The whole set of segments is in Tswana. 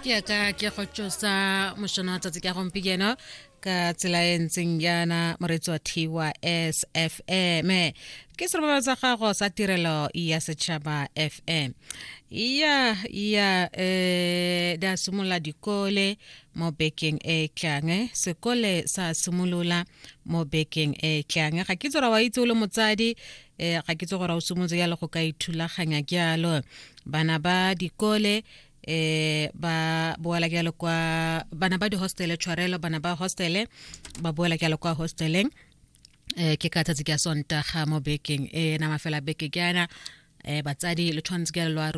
Ke ka ke go tsosa mošono wa tsatsi ka gompieno ka tsela e ntseng jaana, moreetsi wa thiwa SFM. Ke serobalo sa gago sa Tirelo ya Setšhaba FM. Ya di a simolola dikole mo bekeng e tlang, sekole sa simolola mo bekeng e tlang. Ga ke tsora wa itse o le motsadi, ga ke tse gore o simolotse jalo go ka ithulaganya jalo. Bana ba dikole ba boela jalo kwa, bana ba di-hostele, tshwarelo, bana ba hostele ba boela jalo kwa hosteleng ke ka tsatsi ka Sontaga mo bekeng e nama fela beke jaana. Batsadi le tshwanetse ke lwa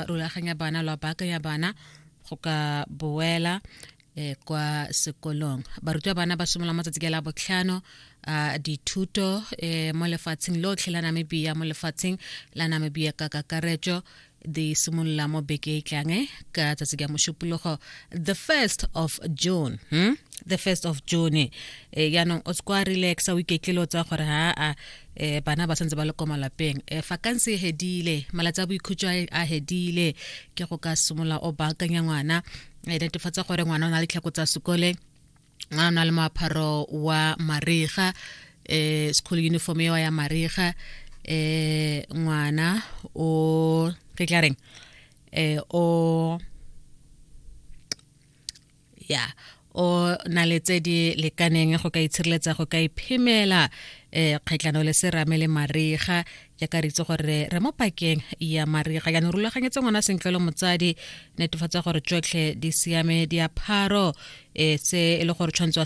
rulaganya bana, lwa baakanya bana go ka boela kwa sekolong. Barutwa bana ba simolola matsatsi ke la botlhano a dithuto mo lefatsheng lotlhe la Namibia, mo lefatsheng la Namibia ka kakaretso di simolola mo beke e tlang ka tsatsi ka Mošupologo, the 1st of June, The 1st of June. Yaanong o se kwa relaxa, o iketlile, o tsaya gore ha a bana ba santse ba le ko malapeng, vakansi e hedile, malatsi a boikhutso a hedile, ke go ka simolola o baakanya ngwana. Netefatsa gore ngwana o na le tlhako tsa sekole, ngwana o na le moaparo wa mariga, school uniform eo ya mariga. Ngwana o ke tla reng, o ya o na le tse di lekaneng go ka itshireletsa, go ka iphemela kgatlhano le serame le mariga, jaaka re itse gore re mo pakeng ya mariga. Jaanong rulaganyetse ngwana sentle le motsadi, netefatsa gore tsotlhe di siame, diapharo se e le gore tshwanetse wa